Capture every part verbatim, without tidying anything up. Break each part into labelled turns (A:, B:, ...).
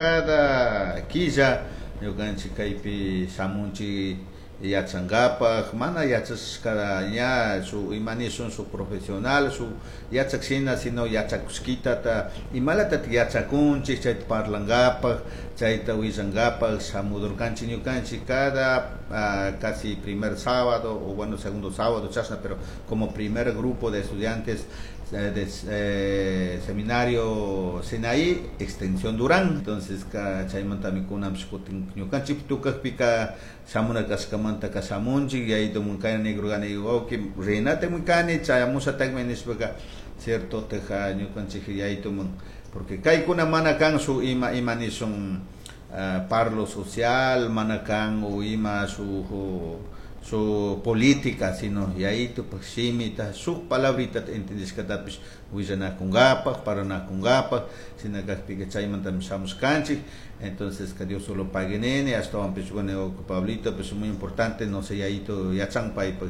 A: Cada quilla ñukanchik kaypi shamunchik yachankapak, mana yachashka ña shuk ima nishun shuk profesional, shuk yachak shina, sino yachakushkitata imalatatik yachakunchik chayta parlankapak, chayta willankapak shamudurkanchik ñukanchik cada uh, casi primer sábado o bueno segundo sábado chashna, pero como primer grupo de estudiantes eh, de eh, seminario Sinaí, extensión Durán. Entonces ka chaymantami kunanpish kutin ñukanchik tukakpika shamuna kashkamanta shamunchik yayitumun kayna nikurkani wawki rinatami kani chayamushatakmi nishpaka cierto teja ñukanchik yayitumun porque kaykuna mana kan shuk ima ima nishun uh, parlo social mana kan o ima shuk su política, sino yayitupak shimita shuk palabrita entendishkatapish willanakunkapak, paranakunkapak, shina kakpika chaymantami shamushkanchik. Entonces que Dios solo pague nene, ashtawanpish bueno Pablito, pues muy importante, no sé yayito yachan paypak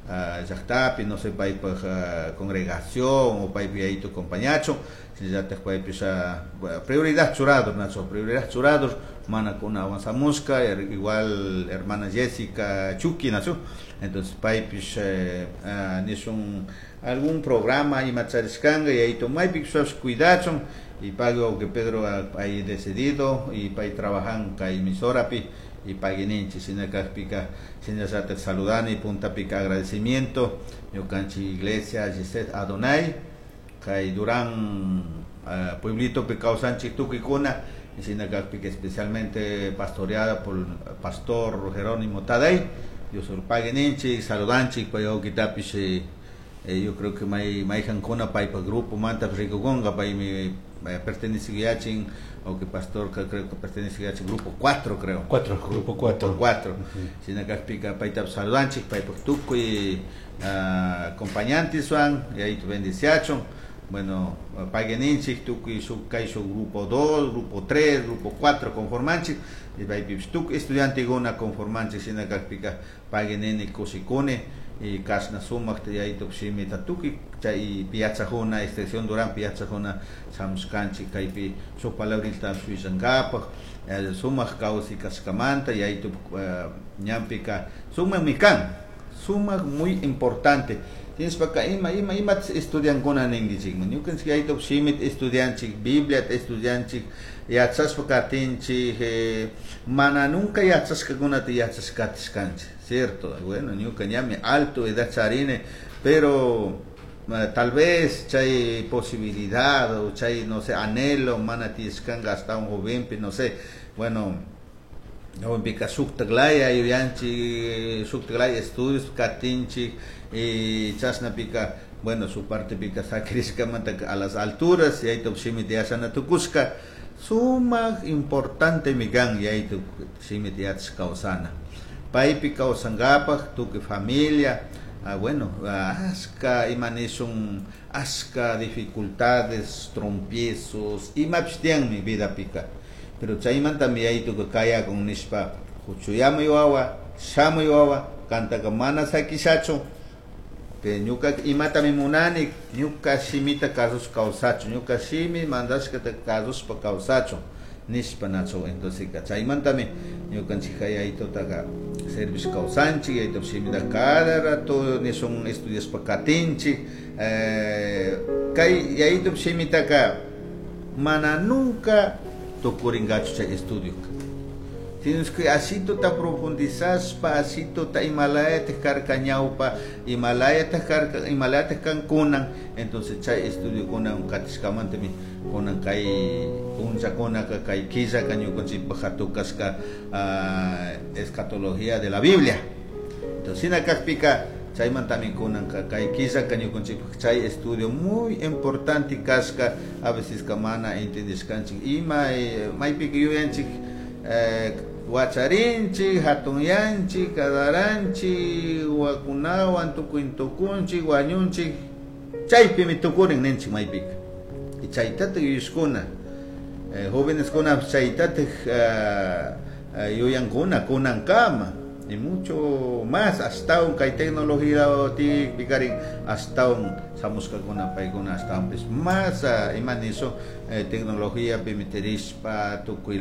A: uh, llaktapi, no sé paypak uh, congregación o paypak yayito compañachun, shinallatak paypish uh, prioridad churador, nacho, prioridad churador, mana kuna avanzamushka, igual hermana Jessica Chucky, nacho, entonces paypish eh, uh, nishun algún programa ima charishkanga yayito maypi cuidachun y pago que Pedro ha decidido y pay trabajan kay emisorapi y pagui ninchik shina kakpika shinallatak saludani puntapika agradecimiento ñukanchik iglesia Gisette Adonai kay Durán uh, pueblitopi kawsanchik tukuykuna shina kakpika especialmente pastoreada por pastor Jerónimo Tadei. Dios pague ninchik, saludanchik pay wawkitapish eh, yo creo que may mayjankuna paypak grupo manta rikukunka paymi eh, pertenece yachin o que pastor que creo que pertenece a grupo cuatro creo.
B: cuatro, grupo cuatro.
A: cuatro. Uh -huh. Shina kakpika payta saludanchik paypak tukuy uh, acompañantes-wan y ahí bendiciachun. Bueno, pagui ninchik tukuy shuk kay shuk grupo dos, grupo tres, grupo cuatro conformanchik y paypipish tukuy estudiantekuna conformanchik shina kakpika pagui nini kushikuni y kashna sumakta yayitup shimita tukuy chay yachakuna extensión Durán yachakuna shamushkanchik kaypi shuk palabrita willankapak eh, sumak kawsay kashkamanta yayitup uh, ñanpika sumakmi kan, sumak muy importante. Tinishpaka ima ima ima estudiankuna ninkichikman ñukanchik yayitup shimita estudianchik, Bibliata estudianchik, yachashpa katinchik, eh, mana nunca yachashkakunata yachashkatishkanchik, cierto. Bueno, ñuka ñami alto edad charini, pero uh, tal vez chay posibilidad o chay no sé anhelo mana tiyashkanka hasta un jovenpi, no sé, bueno, jovenpika shuktaklaya yuyanchik, shuktaklaya estudios katinchik y chashnapika bueno su partepika sakirishkamanta a las alturas yaytup shimita yachana tukushka sumak importante mi kan yaytup shimita yachash kawsana paypi kawsankapak tukuy familia. Ah, bueno, ashka ima nishun ashka dificultades, trompiezos imapish tiyanmi vidapika, pero chaymantami yaytuka kayakun nishpa huchuyamuy wawa, shamuy wawa, kantaka mana sakishachu que ñuka imatami munani ñuka shimita kasush kawsachun, ñuka shimi mandashkata kasushpa kawsachun nishpa nachu. Entonces chaymantami ñukanchik yaytutaka servish kawsanchik yaytup shimita cada rato nishun estudiashpa katinchik eh, kay yaytup shimitaka mana nunca tukurinkachu chay estudio. Tienes que asituta profundizaspa, asituta imalayataj karka ñawpa, imalayataj karka, imalayataj kan kunan. Entonces chay estudio kunan katishkamantami kunan kay punllakunaka kay killaka ñukanchikpak hatukashka uh, escatología de la Biblia. Entonces shina kakpika chaymantami kunanka kay killaka ñukanchikpak chay estudio muy importante kashka, a veces ka mana entendishkanchik ima eh, maypika yuyanchik eh, wacharinchik, hatunyanchik, kadaranchik, wakunawan tukuy tukunchik, wañunchik, chaypimi tukurin ninchik maypika. Y chaytatak yuyashkuna, eh, jóvenes kuna chaytatak uh, uh, yuyankuna kunankama. Y mucho más ashtawan kay tecnología tiyakpikarin ashtawan shamushkakuna paykuna ashtawanpish más ima nishun eh, tecnologiapi meterishpa tukuy.